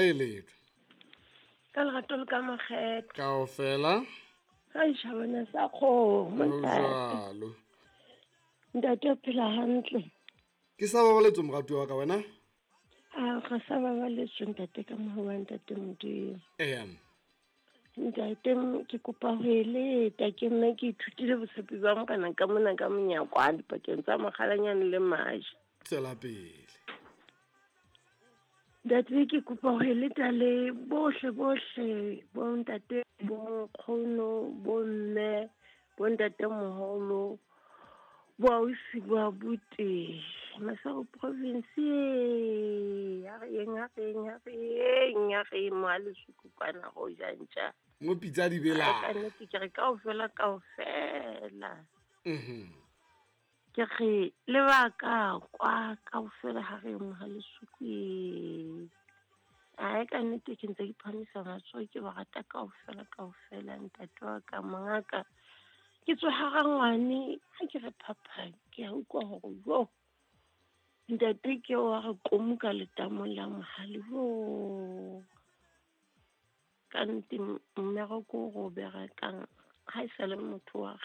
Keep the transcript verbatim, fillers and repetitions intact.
eletswa. Ka lerato le ka makgethe. Kaofela. Ga ishabana sa kgomo ntate. Jwalo. Ntate o phela hantle. Ke sa babaletswe moratuwa wa ka wena? A ga sa babaletswe ntate ka mohau wa ntate Modimo. Eya. Ntate ke kopa ho eleta ke nna ke ithutile botshepi ba morena ka mona ka monyakwane pakeng tsa mokgalanyane le maje. Tswela pele. Ntate ke kopa ho eleta le bohle bohle bo ntate bo nkgono bo mme bo ntate moholo bo ausi bo abuti Maseru province ya re eng ya re eng ya re eng ya re eng mo ha Lesuku kwana go ja ntja. Mo pitsa di bela. Ka nnete ke re kaofela kaofela. Mhm. Ke re le ba ka kwa kaofela ha re mo ha Lesuku e. Ai ka nnete ke ntse ke phamisa matsoho ke ba rata kaofela kaofela ntate wa ka mongaka. Ke tswa ha rangwane ha ke re phapha ke a utlwa hore jo. Ntate ke wa re komo ka letamong la mohale jo. Ka nnete mmereko o re o berekang ha e sa le motho wa